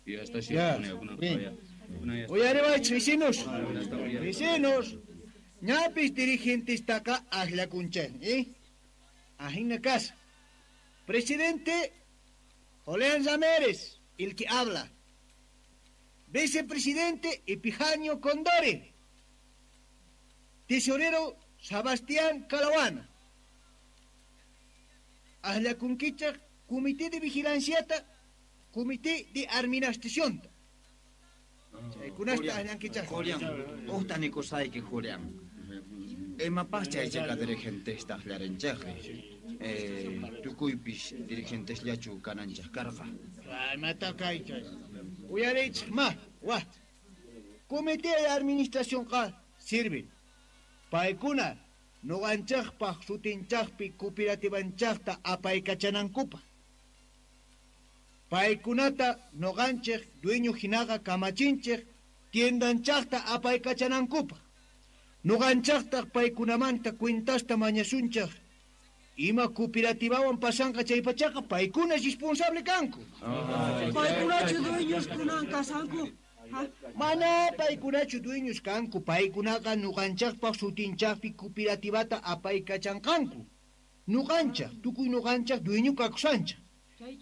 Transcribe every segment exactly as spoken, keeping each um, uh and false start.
Ya, bien. Uyariwaychej vecinos. Vecinos. Ñapis dirigentestaqa akllakunchej, ¿eh? Ajina casa. Presidente Julián Ramírez, el que habla. Vicepresidente Epijanio Condori. Tesorero Sebastián Calahuana. Akllakunkichej Comité de Vigilanciata, Comité de Administración. Chaykunasta akllankichej. Julián, ujta nikusayki Julián. Imapaj chaychaka dirigentesta aklarinchejri. Eh, tukuypis dirigentesllachu kananchej karqa. Imata kaychay. Uyariychej ma, wa. Comité de Administracionqa sirven. Paykuna nuqanchejpaj sutinchajpi cooperativanchajta apaykachanankupaj. Paykunata nuqanchej dueño hinaqa kamachinchej tiendanchajta apaykachanankupaj. Nuqanchajtaj paykunamanta cuentasta mañasunchej. Ima cooperativawan pasanqa chaypachaqa paykuna responsable kanku. Paykunachu dueños kunan kasanku. Mana paykunachu dueños kanku, paykunaqa nuqanchajpaj sutinchajpi cooperativata apaykachanqanku. Nuqanchaj, tukuy nuqanchaj dueño kakusanchaj.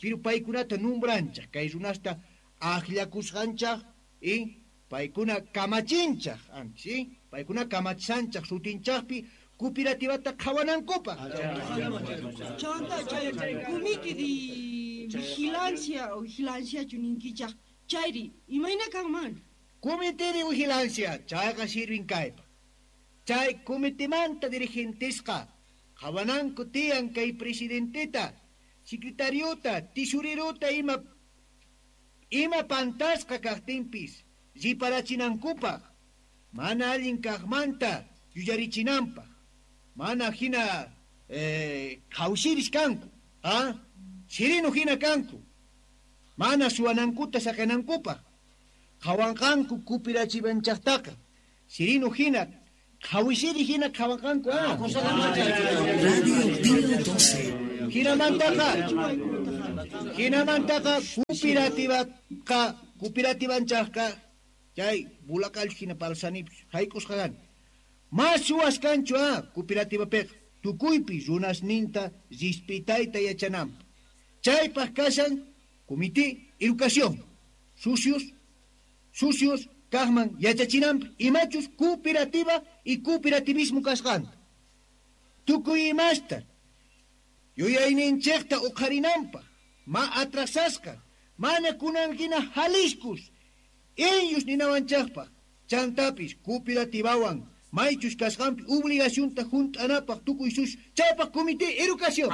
Pero paykunata numbranchaj, kay runasta akllakusqanchaj y paykuna kamachinchaj antes, ¿sí? Paykuna kamachanchaj sutinchajpi cooperativata qhawanankupaj. Chanta chay comité de vigilancia o vigilanciachu ninkichaj. Chayri, imayna kanman? Comité de vigilancia, chayqa sirvin kaypa. Chay comitemanta dirigentesqa qhawananku tiyan kay presidenteta, secretariota, tesorerota ima ima pantasqa kaqtinpis riparachinankupaj, mana allin kaqmanta yuyarichinanpaj, mana hina eh, qhawsiris kanku, ah? Sirinu hina kanku. Mana suwanankuta saqinankupaj. Qhawanqanku cooperachivanchajtaqa. Sirinu hina, qhawisiri hina qhawanqanku, ah. Radio Pío doce. Hinamantaqa, hinamantaqa cooperativaqa, cooperativanchajqa, chay bulaqallu hina palsanipis, hayk'usqa kani. Mas suwas kanchu, ah, cooperativapiqa. Tukuypi runasninta rispitayta yachananpaq. Chaypaq kashan Comité Educación, sucios, sucios, kaqman yachachinanpaq, imachus cooperativa y cooperativismo kasqanta. Tukuy imasta, yuyayninchejta uqharinanpaq, ma atrasasqa, mana kunan hina Jaliscus, ellos ninawanchejpaq, chantapis cooperativawan, maychus kasqanpi obligacionta junt'anapaq tukuy sus, chaypaq Comité Educación.